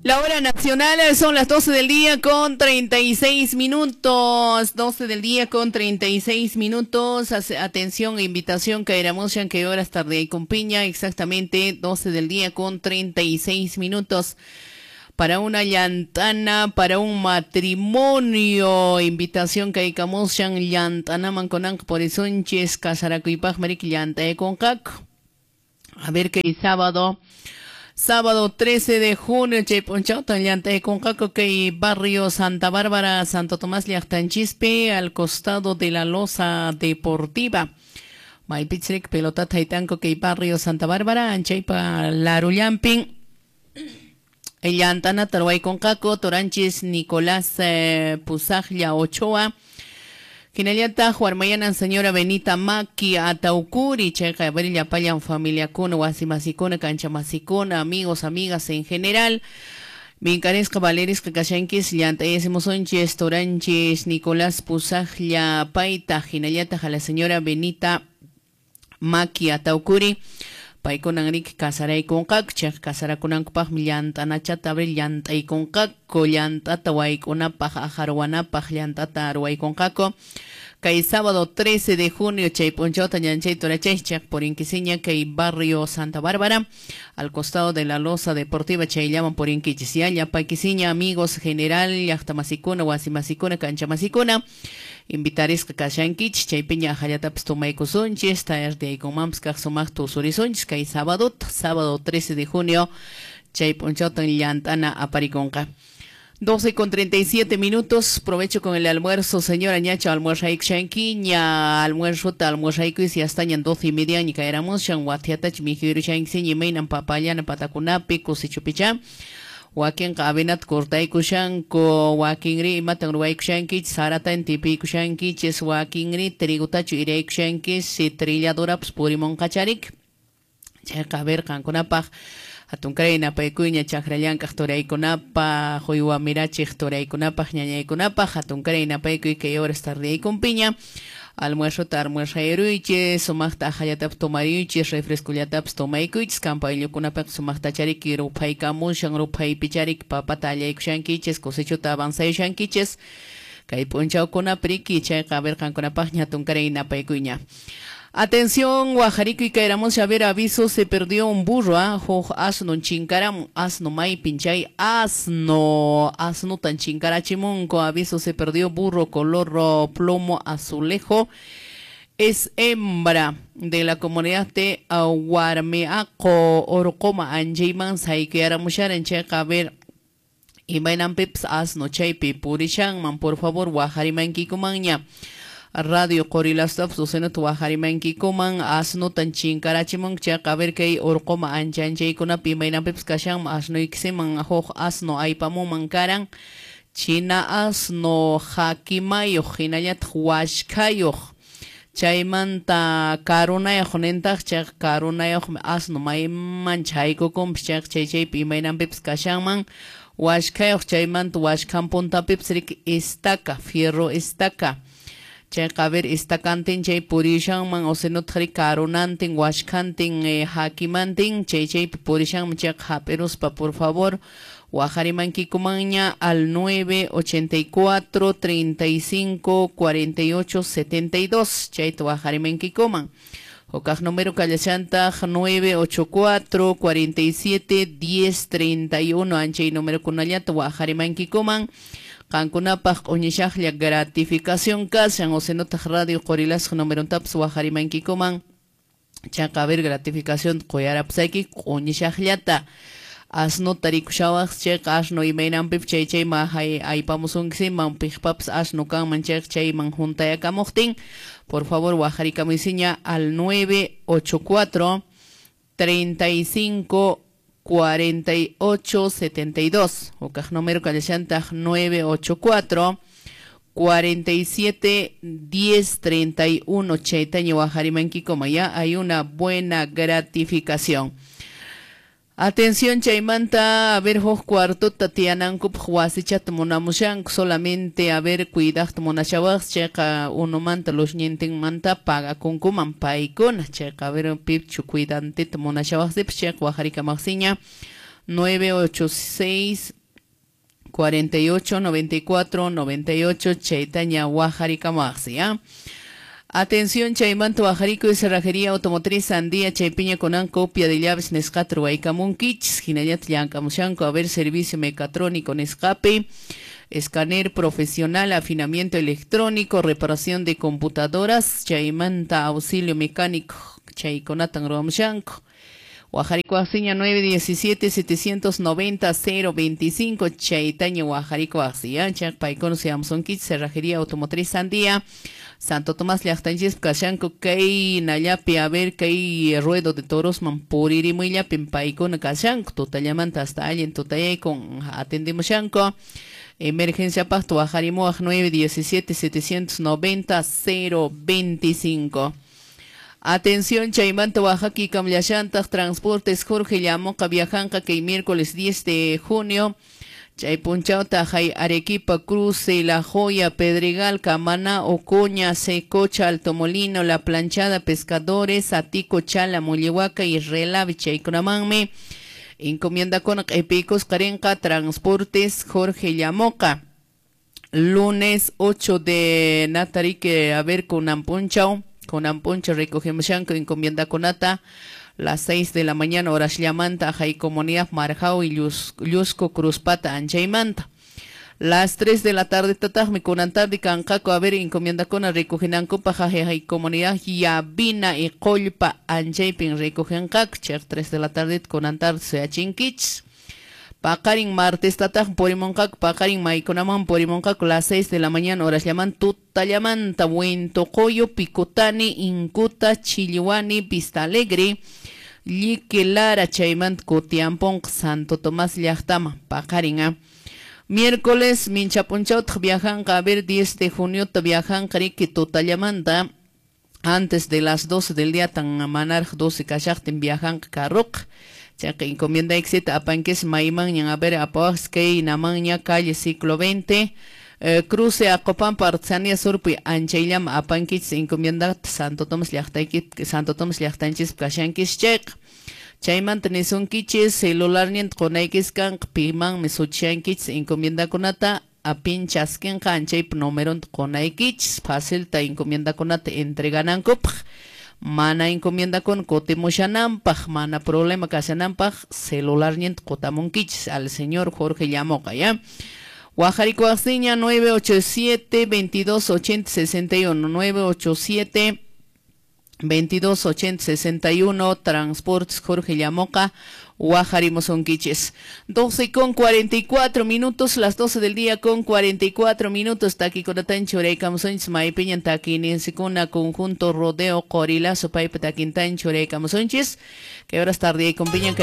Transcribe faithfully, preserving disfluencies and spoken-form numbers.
La hora nacional son las doce del día con treinta y seis minutos. doce del día con treinta y seis minutos. Atención, invitación que éramos que horas tarde y con piña, exactamente doce del día con treinta y seis minutos. Para una llantana, para un matrimonio. Invitación que hay camoshan llantana manconank por esunches casaracuipaj marik llanta concac. A ver que sábado. Sábado trece de junio, Chaypunchauta, Llantayconcaco, que barrio Santa Bárbara, Santo Tomás, Llaqtanchispi, al costado de la Loza Deportiva. Maypichrik, pelota taitanco, que barrio Santa Bárbara, Anchaypa, Larullampin, Llantana, Tarwayconcaco, Toranchis, Nicolás eh, Puzajlla, Ochoa. Hinallata Huarmayanan señora Benita Maki Ataucuri, checa Abril Payan familia kuna, wasimasikuna, canchamasikuna, amigos, amigas en general. Mincaresca Valerisca Kashankis, Llantayesimusonches, Toranches, Nicolás Puzajlla Paita, hinallata a la señora Benita Maki Ataucuri. Paikunan rik kasaraykunqaku, chayqa kasarakunankupaqmi llantanachata abril llantaykunqaku, llantata waykunapaq, ajarwanapaq llantata ruwaykunqaku. Kay sábado trece de junio chay p'unchawta ñanchay turachay chayqa purinquisiña kay barrio Santa Bárbara, al costado de la Loza Deportiva chayllaman purinquichis. Ya llapakisiña amigos general, llaqtamasikuna, wasimasikuna, kanchamasikuna. Invitarisqa kashankichis chaypiña ajallatapis tumaykusunchis, tayartiyaykunmanpis kaq sumaqta usurisunchis kay sábado, sábado trece de junio chay p'unchawtan llantana aparikunqa. doce con treinta y siete minutos, provecho con el almuerzo, señora ñacha, almuerzaykushankiña, almuerzota, almuerzaykuy, si hasta ñan doce y media, ñi caeramushan, watiatach, mijiruchankiñi, meinan papayana, patakunapi, kusichupicha. Wakinqa avenat cortaykushanku, wakinri imatan ruwaykushankichis, saratan tipiykushankichis, wakinri trigutachu iraykushankis, si trilladorapas purimunqacharik. Chayqa a ver qankunapaq hatunkaray napaykuyña chakrallankaq turaykunapaq, uywa mirachiq turaykunapaq, ñañaykunapaq, hatunkaray napaykuy kay horas tardiyaykunpiña. Almuerzota almuerzayruychis, sumaqta ajallatapis tomariychis, refrescullatapis tomaykuychis, kampayllakunapaq sumaqta chariki ruphaykamushan, ruphaypicharik papata allaykushankichis, cosechuta avanzayushankichis, kay p'unchawkunapi riki chayqa a ver qankunapaqña hatunkaray napaykuyña. Atención, Guajarico y Caeramos, a ver, aviso, se perdió un burro, ¿ah? Hoj, asno, chincaram, asno, may, pinchay, asno, asno, tan chincarachimunco, aviso, se perdió burro, color plomo, azulejo, es hembra de la comunidad de Huarmeaco, Orocoma, Anjayman, Saiquearamusharan, checa, a ver, y mainan pips, asno, chaypi, purishanman, por favor, Guajarimanquicumaña. Radio Qorilastaf Susana tuwajarimankikuman asnutan chinkarachimun chayqa a ver kay urquma anchanchaykunapi imaynanpipas kashanman asnuykisiman huk asno aypamunman karan china asno hakimayuq hinallataq washkhayuq chaymanta karunayuq nintaq chayqa karunayuqmi asno mayman chaykukunpas chayqa chay chaypi imaynanpipas kashanman washkhayuq chaymanta washkhan puntapipas riki estaca fierro estaca chayqa a ver estacantin chay purishanman o sinotaqri karunantin washkhantin eh, hakimantin chay chaypi purishanman chayqa hap'iruspa por favor waqarimankikumanña al nueve ochenta y cuatro treinta y cinco cuarenta y ocho setenta y dos chayta waqarimankikuman hukaq número kallashantaq nueve ocho cuatro cuarenta y siete diez treinta y uno anchay número kunallata waqarimankikuman qankunapaq q'uñishaqlla gratificación kashan o sinotaq radio Qorilasqa numerontapas waqarimankikuman chayqa a ver gratificación quyarapusayki q'uñishaqllata asnuta rikushawaq chayqa asnu imaynanpipas chay chayman aypamusunkisiman piqpapas asnu kanman chayqa chayman juntayakamuqtin por favor waqarikamuysiña al nueve ocho cuatro treinta y cinco cuarenta y ocho setenta y dos hukaq número kallashantaq nueve ocho cuatro cuarenta y siete diez treinta y uno chaytaña waqarimankikuma ya hay una buena gratificación. Atención chaymanta, a ver huk cuartota tiyanankupaq wasichata munamushanku solamente a ver cuidaqta munashawaq chayqa unumanta lushñintinmanta pagakunkuman paykuna chayqa a ver pipchu cuidantita munashawaqsipas chayqa waqarikamaqsiña nueve ocho seis cuarenta y ocho noventa y cuatro noventa y ocho chaytaña waqharikamaqsi ya. Atención, chaymanta waqharikuy cerrajería automotriz Sandía chaypiña kunan copia de llaves nisqata ruwaykamunkichis hinallata llank'amushanku a ver servicio mecatrónico nisqapi, escáner profesional, afinamiento electrónico, reparación de computadoras, chaymanta auxilio mecánico chaykunatan ruwamushanku. Waqharikuwaqsiña nueve diecisiete setecientos noventa cero veinticinco chaytaña waqharikuwaqsi ya chay paykuna suyamsunkichis cerrajería automotriz Sandía Santo Tomás llaqtanchispi kashanku kay nallapi a ver kay ruedo de torosman puririmuyllapin paykuna kashanku tutallamanta hasta allin tutayaykun atendimushanku. Emergencia paqta waqharimuwaq nueve diecisiete setecientos noventa cero veinticinco. Atención, chaymanta Oaxaca kamllashantaq Transportes Jorge Llamoqa viajanqa kay miércoles diez de junio chay punchawta hay Arequipa, Cruce, La Joya, Pedregal, Camaná, Ocoña, Secocha, Alto Molino, La Planchada, Pescadores, Atico, Chala, Mollehuaca y Relave chaykunamanmi encomienda con q'ipiykusqa qarinqa Transportes Jorge Llamoqa. Lunes ocho de Natarique, a ver kunan punchaw kunan punchaw recogemushanku encomienda kunata las seis de la mañana horas llamanta hay comunidad Marjao y Llusco Cruzpata anchaymanta. Las tres de la tarde tatajmi kunan tarde kanqaku a ver encomienda kuna recogenankupa hay comunidad Yabina y Qollpa anchaypin recogenqaku chay tres de la tarde kunan tarde suyachinkichis. Paqarin martes tataj purimunqaku paqarin maykunaman purimunqaku las seis de la mañana horas llaman tutallamanta Huentocoyo, Picotani, Incuta, Chillihuani, Vista Alegre, Llique Lara, chaymanta kutiamponqa Santo Tomás llaqtama paqarin a. Miércoles minchapunchawtaq viajanqa a ver diez de junio viajanqa riki tutallamanta antes de las doce del día tan manaraq doce kashaqtin viajanqa carroqa. Chayqa encomienda exita apanquis maymanñan a ver apawaqs kay namanña calle siglo veinte eh, cruce Acopampa Artesanía Surpi anchayllama apankichis encomienda Santo Tomás llaqtayki Santo Tomás llaqtanchis kashankis chayqa. Chaymanta nisunkichis celularninta qunaykis kanqa pimanmi suchankichis encomiendakunata apin chaskinqa anchaypa numeronta qunaykichis facilta encomiendakunata entreganankupaq. Mana encomienda con kutimushananpaq, mana problema kashananpaq, celularninta qutamunkichis al señor Jorge Llamoqa, ya. Waqharikuwaqsiña nueve ocho siete veintidós ochenta sesenta y uno, nueve ocho siete veintidós ochenta sesenta y uno, Transportes Jorge Llamoqa, waqharimusunkichis. doce con cuarenta y cuatro minutos, las doce del día con cuarenta y cuatro minutos, takikunatan churaykamusunchis maypiñan takininsikuna conjunto rodeo qorilazo paypa takintan churaykamusunchis. Que horas tarde y con piña que